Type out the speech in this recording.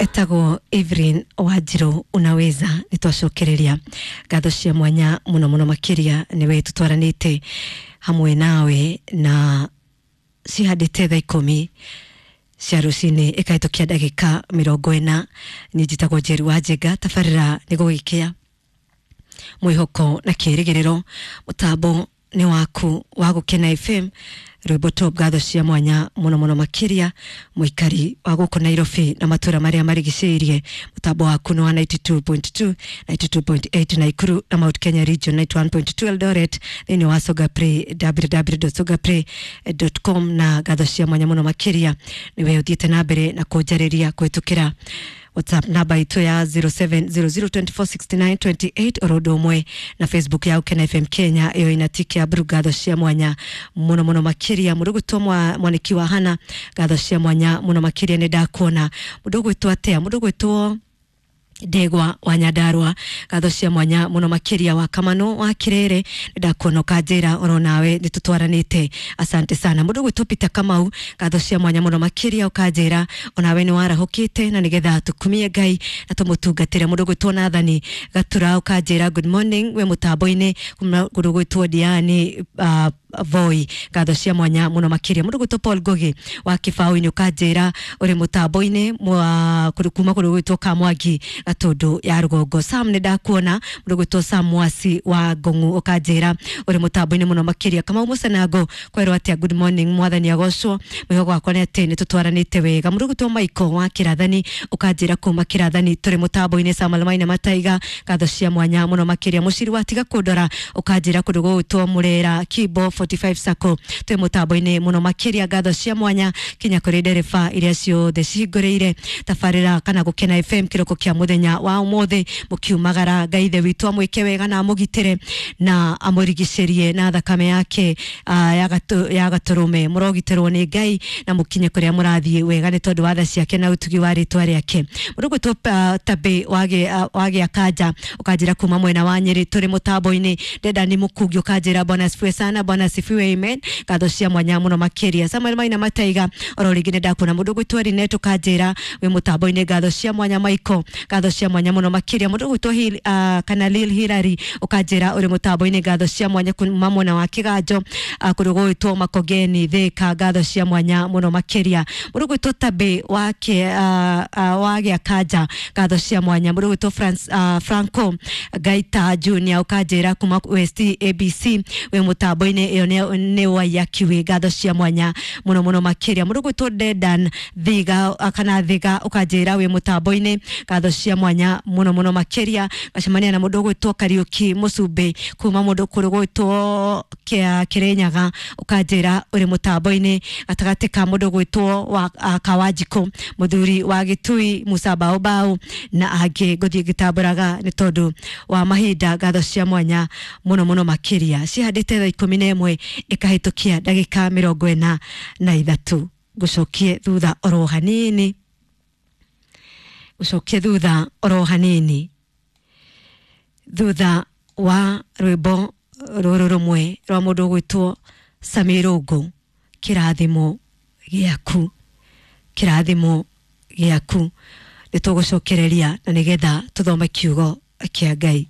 Etagwo Evelyn Wanjiru unaweza nä twacokereria ngatho cia mwanya muno muno makiria niwe tutwaranite hamwe nawe na cihandĩte thaa 10 cia rũcinĩ ĩkahĩtũkia ndagĩka 40. Niĩ njĩtagwo Njeri wa Njenga, tabarĩra nĩ gũgĩkĩa mwĩhoko na kĩrĩgĩrĩro. Mũtambo nĩ waku wa Gũkena FM, rwĩmbo top. Ngatho cia mwanya muno muno makiria mũikari wa gũkũ Nairobi na matũra marĩa marigicĩirie. Mũtambo waku nĩ wa 92.2, 92.8 Naikuru na Mount Kenya Region, 91.2 Eldoret, thĩinĩ wa Songa Play, www.songaplay.com. Na ngatho cia mwanya muno makiria nĩwe ũthiĩte na mbere na kũnjarĩria kũhĩtũkĩra WhatsApp namba itũ ya 0700246928 oro ũndũ ũmwe na Facebook ya Gũkena FM Kenya ĩyo ina tiki ya blue. Ngatho cia mwanya muno muno makiria mũndũ gwĩtwo mwaniki wa Hana, ngatho cia mwanya muno makiria nĩ ndakuona. Mũndũ gwĩtwo atea, mũndũ gwĩtwo Ndegwa wa Nyandarua, ngatho cia mwanya muno makiria. Wa Kamano wa Kirere, nĩ ndakuona ũkanjĩra oro nawe nĩ tũtwaranĩte, asante sana. Mũndũ gwĩtwo Peter Kamau, ngatho cia mwanya muno makiria, ũkanjĩra onawe nĩ warahũkĩte na nĩgetha tũkumie Ngai na tũmũtungatĩre. Mũndũ gwĩtwo Nathani Gatura ũkanjĩra good morning we mũtambo-inĩ. Mũndũ gwĩtwo Diani Voi, ngatho cia mwanya muno makiria. Mũndũ gwĩtwo Paul Ngugi wa Kĩbaũ-inĩ ũkanjĩra ũrĩ mũtambo-inĩ kuma kũndũ gwĩtwo Kamwangi Gatundu ya rũgongo. Sam nĩ ndakuona. Mũndũ gwĩtwo Sam Mwasi wa Ngong'u ũkanjĩra ũrĩ mũtambo-inĩ mũno makĩria. Kamau Mũcanango kwerwo atĩa, good morning, mwathani agocwo, mwĩhoko wakwa nĩ atĩ nĩ tũtwaranĩte wega. Mũndũ gwĩtwo Michael wa Kĩrathani ũkanjĩra kuma Kĩrathani tũrĩ mũtambo-inĩ. Samuel Maina Mataiga, ngatho cia mwanya mũno makĩria. Mũciri wa tiga kũndora ũkanjĩra kũndũ gũgwĩtwo Mũrera Kibo 45 Sacco twĩ mũtambo-inĩ mũno makĩria. Ngatho cia mwanya kinya kũrĩ ndereba iria ciothe cihingũrĩire tabarĩra kana Gũkena FM kĩroko kĩa mũthenya wa ũmũthĩ mũkiumagara. Ngai ithe witũ amwĩke wega na amũgitĩre na amũrigicĩrie na thakame yake ya gatũrũme. Mũrogitĩrwo nĩ Ngai na mũkinye kũrĩa mũrathiĩ wega nĩ tondũ wa tha ciake na ũtugi wa rĩtwa rĩake. Mũndũ gwĩtwo Tabĩ wagĩa Kanja ũkanjĩra kuma mwena wa Nyĩrĩ tũrĩ mũtambo-inĩ. Ndenda Mũkungi ũkanjĩra bwana asifiwe sana, bwana asifiwe, amen, ngatho cia mwanya mũno makĩria. Samuel Maina Mataiga oro rĩngĩ nĩ ndakuona. Mũndũ gwĩtwo Rinet ũkanjĩra wĩ mũtambo-inĩ, ngatho cia mwanya. Michael, ngatho cia mwanya mũno makĩria. Mũndũ gwĩtwo kana Lil Hilary ũkanjĩra ũrĩ mũtambo-inĩ, ngatho cia mwanya kuma mwena wa Kĩganjo, kũndũ gũgwĩtwo Makongeni Thĩka, ngatho cia mwanya mũno makĩria. Mũndũ gwĩtwo Tabĩ wa Gĩa Kanja, ngatho cia mwanya. Mũndũ gwĩtwo Franco Gaita Junior ũkanjĩra kuma West ABC wĩ mũtambo-inĩ, ĩyo nĩ Waiyaki, ngatho cia mwanya mũno mũno makĩria. Mũndũ gwĩtwo Dedan Thiga kana Thiga ũkanjĩra wĩ mũtambo-inĩ, ngatho cia mwanya mũno mũno makĩria. Gacemania na mũndũ ũgwĩtwo Kariũki Mũcumbĩ kuma mũndũ kũrĩ gwĩtwo Kĩrĩnyaga, ũkanjĩra ũrĩ mũtambo-inĩ gatagatĩ ka mũndũ ũgwĩtwo wa Kawanjikũ, mũthuri wa Gĩtui, Musa Baobao na angĩ. Ngũthiĩ ngĩtambũraga nĩ tondũ wa mahinda. Ngatho cia mwanya mũno mũno makĩria. Cihandĩte thaa 11 ĩkahĩtũkia ndagĩka 43. Ngũcokie thutha oro hanini, gũcokie thutha oro hanini thutha wa rwĩmbo rũrũ rũmwe rwa mũndũ ũgwĩtwo Sami Rũngũ, kĩrathimo gĩaku, kĩrathimo gĩaku. Nĩ tũgũcokereria na nĩgetha tũthome kiugo kĩa Ngai.